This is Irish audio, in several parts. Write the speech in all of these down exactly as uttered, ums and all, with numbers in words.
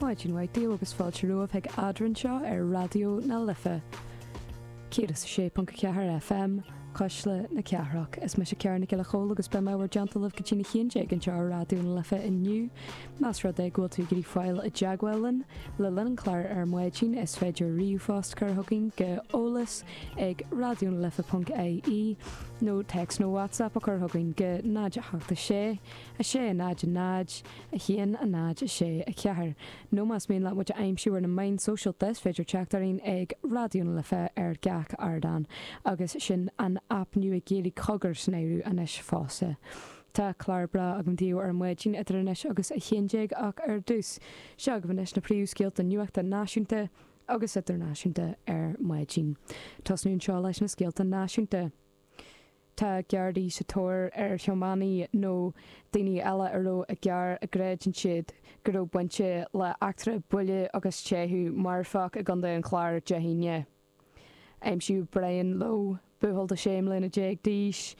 Maidin mhaith daoibh agus fáilte romhaibh chuig Eadrainn anseo ar Raidió na Life. céad is a sé ponc a ceathair FM, Cuisle na Cathrach. Is mise Ciara Nic Giolla Chóill agus beidh mé i bhur dteannta libh go dtí a haon déag anseo ar Raidió na Life inniu. Más rud é go bhfuil tú ag iarraidh fáil i dteagmháil linn le linn an chláir ar maidin is féidir ríomhphost a chur chugainn go eolas ag raidionalife ponc ie nó téacs nó WhatsApp a chur chugainn go náid a hocht a sé, a sé, a náid, a náid, a haon, a náid, a sé, a ceathair. Nó más mian leat muid a aimsiú ar na meáin sóisialta is féidir teacht orainn ag Raidió na Life ar gach ardán agus sin an aip nua Gaeilge Cogar san áireamh anois fosta. Tá clár breá agam daoibh ar maidin idir anois agus a haon déag ach ar dtús, seo agaibh anois na príomhscéalta nuachta náisiúnta agus idirnáisiúnta ar maidin. Tosnú anseo leis na scéalta náisiúnta. Tá Gardaí sa tóir ar thiománaí nó daoine eile a raibh i gcarr a gcreideann siad go raibh baint le eachtra buille agus teitheadh marfach i gContae an Chláir Dé hAoine. Aimsíodh Brian Lowe, buachaill de sé mbliana déag d'aois,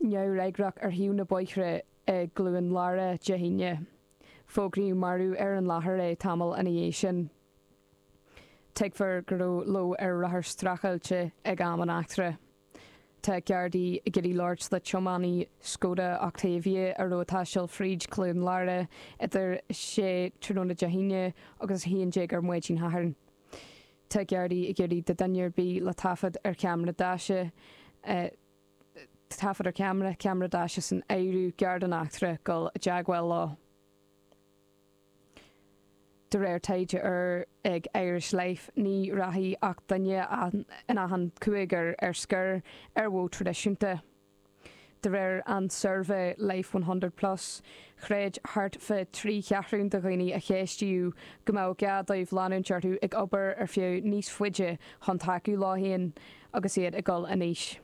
neamhfhreagrach ar thaobh na bóithre i gCluain Lára Dé hAoine. Fógraíodh marbh ar an láthair é tamall ina dhiaidh sin. Tuigtear go raibh Lowe ar rothar streachailte ag am an eachtra. Tá Gardaí ag iarraidh labhairt le tiománaí Skoda Octavia a raibh ag taisteal fríd Cluain Lára idir sé tráthnóna Dé hAoine agus a haon déag ar maidin Shathairn. Tá Gardaí ag iarraidh do dhuine ar bith le taifead ar cheamara daise, taifead ar cheamara, ceamara daise san áireamh, gar don eachtra, dul i dteagmháil leo. De réir taighde úr ag Irish Life, ní rachaidh ach duine in achan cúigear ar scor ar mhodh traidisiúnta. De réir an tsuirbhé Life one hundred Plus, chreid thart fá trí cheathrún de dhaoine a ceistíodh go mbeadh gá dóibh leanúint orthu ag obair ar feadh níos faide chun tacú leo féin agus iad ag dul in aois.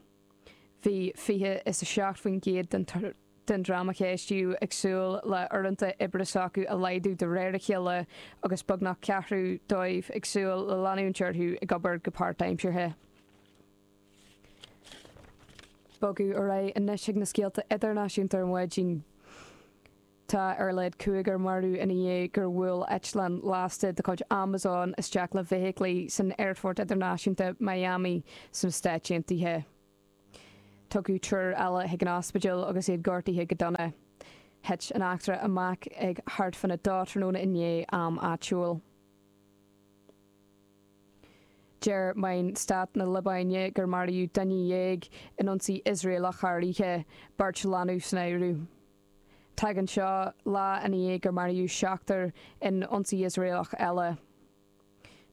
Bhí fiche is a seacht faoin gcéad den den dream a ceistíodh ag súil le uaireanta oibre s'acu a laghdú de réir a chéile agus beagnach ceathrú dóibh ag súil le leanúint orthu ag obair go páirtaimseartha. Bogadh ar aghaidh anois ag na scéalta idirnáisiúnta ar maidin. Tá ar a laghad cúigear marbh ina dhiaidh gur bhuail eitleán lasta de chuid Amazon isteach le feithiclí san Aerfort Idirnáisiúnta Miami sna Stáit Aontaithe. Tugadh triúr eile chuig an ospidéal agus iad gortaithe go dona. Thit an eachtra amach ag thart fána dó tráthnóna inné, am áitiúil. Deir meáin stáit na Liobáine gur maraíodh duine dhéag in ionsaí Iosraelach thar oíche, beirt leanbh san áireamh. Tagann seo lá ina dhiaidh gur maraíodh seachtar in ionsaí Iosraelach eile.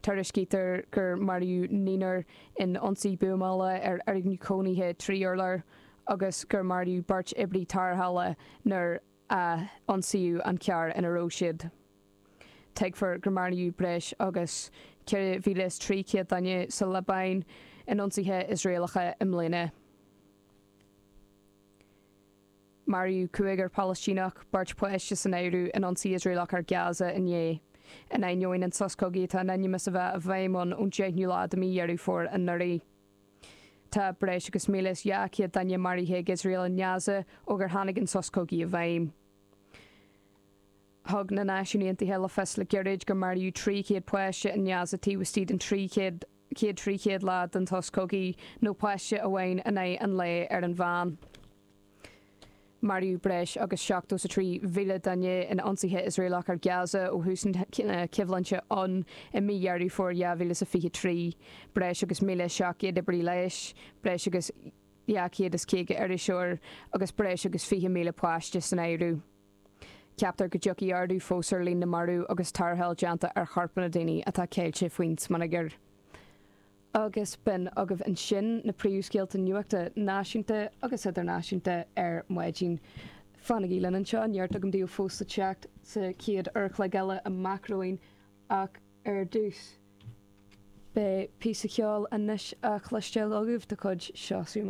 Tuairiscítear gur maraíodh naonúr in ionsaí buamála ar fhoirgneamh cónaithe trí urlár agus gur maraíodh beirt oibrí tarrthála nuair a ionsaíodh an carr ina raibh siad. Tuigtear gur maraíodh breis agus ceithre mhíle is trí chéad duine sa Liobáin in ionsaithe Iosraelacha i mbliana. Maraíodh cúigear Palaistíneach, beirt pháiste san áireamh, in ionsaí Iosraelach ar Gaza inné, in ainneoin an sos cogaidh atá in ainm is a bheith i bhfeidhm ann ón deichiú lá de mhí Dheireadh Fómhair anuraidh. Tá breis agus míle is dhá chéad duine maraithe ag Iosrael i nGaza ó gur tháinig an sos cogaidh i bhfeidhm. Thug na Náisiúin Aontaithe le fios le gairid gur maraíodh trí chéad páiste i nGaza taobh istigh den trí chéad trí chéad lá den sos cogaidh, nó páiste amháin in aghaidh an lae ar an mheán. Maraíodh breis agus seachtó is a trí mhíle duine in ionsaithe Iosraelach ar Gaza ó thús na coimhlinte ann i mí Dheireadh Fómhair dhá mhíle is a fiche trí, breis agus míle seacht gcéad oibrí leighis, breis agus dhá chéad is caoga iriseoir agus breis agus fiche míle páiste san áireamh. Ceaptar go dtiocfaidh ardú fós ar líon na marbh agus tarrtháil déanta ar chorpanna daoine atá ceilte faoin smionagar. Agus b'in agaibh ansin na príomhscéalta nuachta náisiúnta agus idirnáisiúnta ar maidin. Fanaigí linn anseo, neart agam daoibh fós le teacht sa chéad uair a chloig eile amach romhainn ach ar dtús, beidh píosa ceoil anois á chloisteáil agaibh de chuid Seosamh Mac.